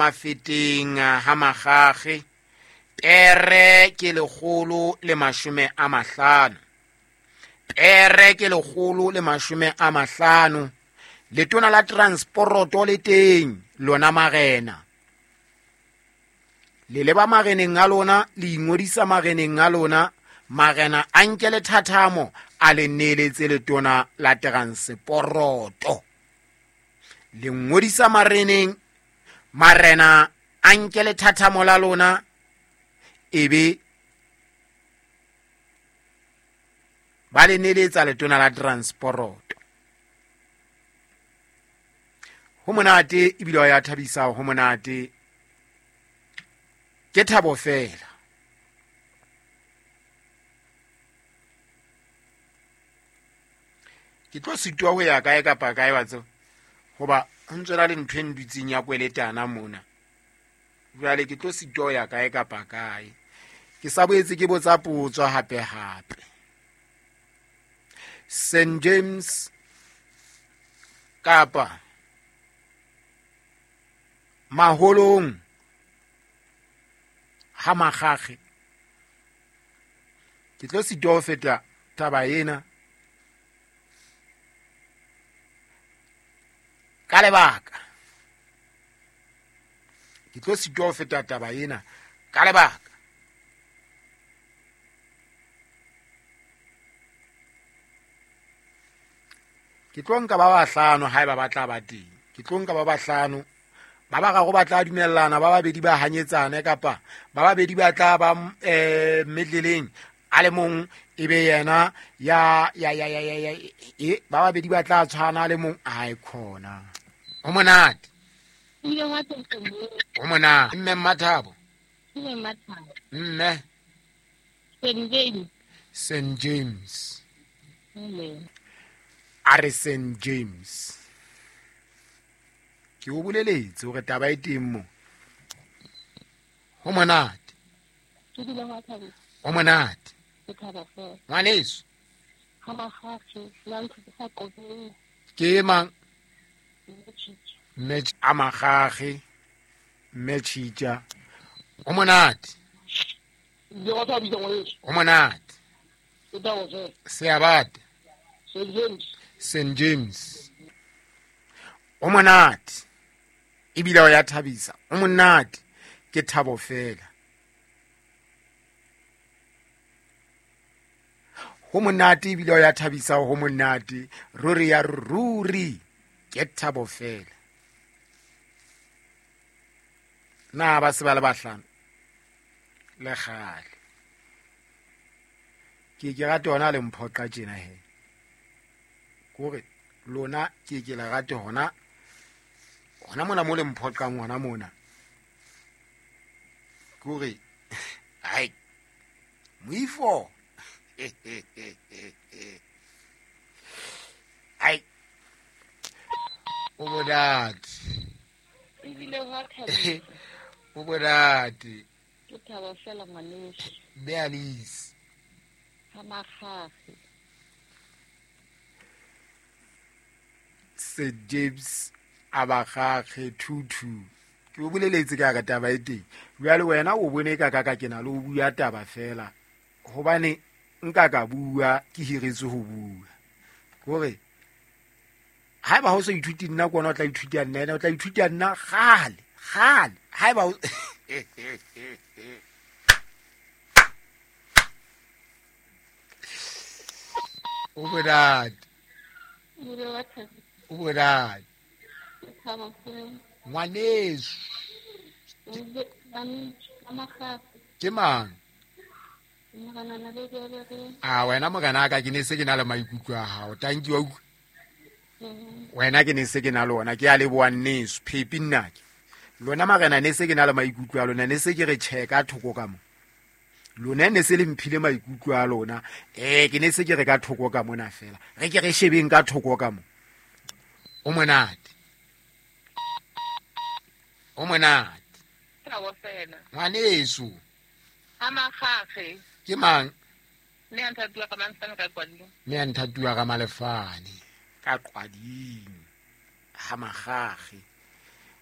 Mafeteng ha Magage, pere ke 150. Pere ke 150. Letona la transporoto le teng, lona marena. Le leba mareneng a lona, le ingodisa mareneng a lona, marena a nke lethathamo a le neeletse letona la transporoto. Le ngodisa mareneng, marena a nke lethathamo la lona, ebe ba le neeletsa letona la transporoto. Ho monate ebile wa ya thabisa, ho monate. Ke thabo fela. Ke tlo sitwa ho ya kae kapa kae wa tseba, hoba ho ntse na le ntho e ndutseng ya kweletana mona. Jwale ke tlo sitwa ho ya kae kapa kae. Ke sa boetse ke botsa potso hape hape. St James kapa Maholong ha Magage. Ke tlo sitwa ho feta taba ena ka lebaka. Ke tlo sitwa ho feta taba ena ka lebaka. Ke tlo nka ba bahlano haeba ba tla ba teng. Ke tlo nka ba bahlano. Ba bararo ba tla dumellana, ba babedi ba hanyetsane, kapa ba babedi ba tla ba medleleng, a le mong e be yena ya, ya, ya, ya, ya, ya, e, ba babedi ba tla tshwana, a le mong, ai khona. Ho monate. Ho monate. Mme Mmathabo. Mme Mmathabo. Mme. St James. St James. Mme. A re St James. Ke o boleletse hore taba e teng mo. Ho monate. Ke dula ho thabisa. Ho monate. Ke thaba fela. Ngwaneso. Ha Magage, la ntho tsa qobeng. Ke mang? Mme Tshitja. Mme a Magage, Mme Tshitja. Ho monate. Ke wa thabisa ngwaneso. Ho monate. Ke thaba fela. Seabate. St James. St James. O monate. Ebile o ya thabisa. O monate. Ke thabo fela. Ho monate ebile o ya thabisa, ho monate. Ruri ya ruri. Ke thabo fela. Na ba se ba le bahlano? Le kgale. Ke ke rate hona le mphoqa tjena he. Kore lona ke ke le rate hona. Hona mona mo le mphoqang hona mona. Kore ai moifo. Ai. O monate. Ebile wa thabisa. O monate. Ke thaba fela ngwaneso. Mme Alice. Ha Magage. St James a Magage 22. Ke o boleletse ka ka taba e teng. Jwale wena o bone ka ka ka ke na le ho bua taba fela. Hobane nka ka bua ke hiretswe ho bua. Hore haeba ho so ithuti nna ke wena o tla ithuta nna, ena o tla ithuta nna kgale, kgale. Haeba o O monate. O monate. Ngwaneso. Ke mang? A wena morena ka ke ne se ke na le maikutlo a hao. Thank you. Wena ke ne se ke na le ona, ke a leboha nneso, phepi nna ke. Lona marena ne se ke na le maikutlo a lona, ne se ke re tjhe ka thoko ka mo. Lona ne se le mphile maikutlo a lona. Ke ne se ke re ka thoko ka mona fela. Re ke re shebeng ka thoko ka mo. O monate. O monate. Thabo fela. Ngwaneso. Ha Magage. Ke mang? Mme a nthatuwa ka Malefane ka Qwading. Mme a nthatuwa ka Malefane ka Qwading. Ha Magage.